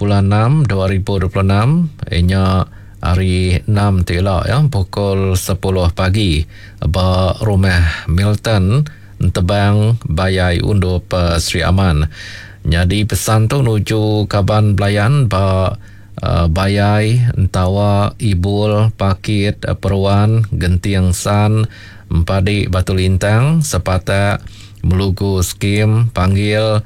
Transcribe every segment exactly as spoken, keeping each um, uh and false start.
bulan enam dua ribu dua puluh enam, inya hari enam tu ila ya, pukul sepuluh pagi ba rumah Milton Entebang Bayai Undup Sri Aman. Nyadi pesan tu nuju kaban belayan ba uh, Bayai, Entawa, Ibul, Pakit, Peruan, Genting San, Empadi Batu Lintang, Sepatak, Melugu Skim, Panggil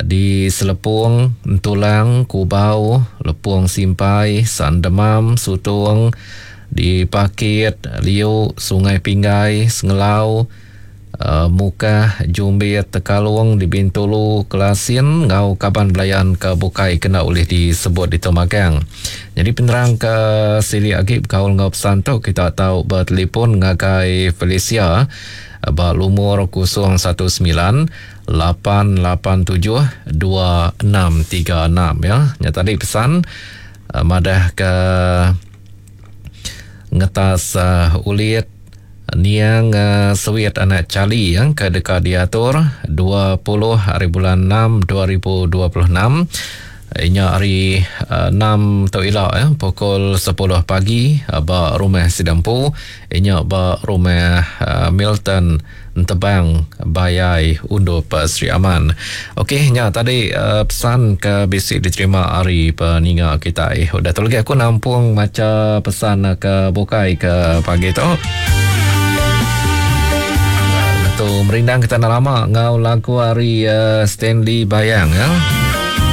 di Selepong, Entulang, Kubau, Lepong Simpai, Sandemam, Sutong, di Pakit, Liu, Sungai Pinggai, Sengelau, uh, Mukah, Jumbit, Tekalong, di Bintulu, Kelasin, ngau kaban belayan ke bukai kena ulih disebut di Tomagang. Jadi penerang ke silik agi bekaul ngau pesan tu kita tahu bertelefon ngagai Felicia ba lumur kosong satu sembilan lapan lapan tujuh dua enam tiga enam ya. Nya tadi pesan uh, madah ke ngetas uh, ulit niang uh, sewit anak Charlie yang ke dekat diatur dua puluh hari bulan enam dua ribu dua puluh enam. Inya hari uh, enam tu ila ya, pukul sepuluh pagi uh, ba rumah Sidampu, inya ba rumah uh, Milton Entebang Bayai Undup Sri Aman. Okey, nya tadi uh, pesan ke bisi diterima hari peninga kita. Eh, udah tu lagi aku nampung maca pesan ke bukai ke pagi tu. Tu merindang kita nak lama ngau lagu hari uh, Stanley Bayang ya.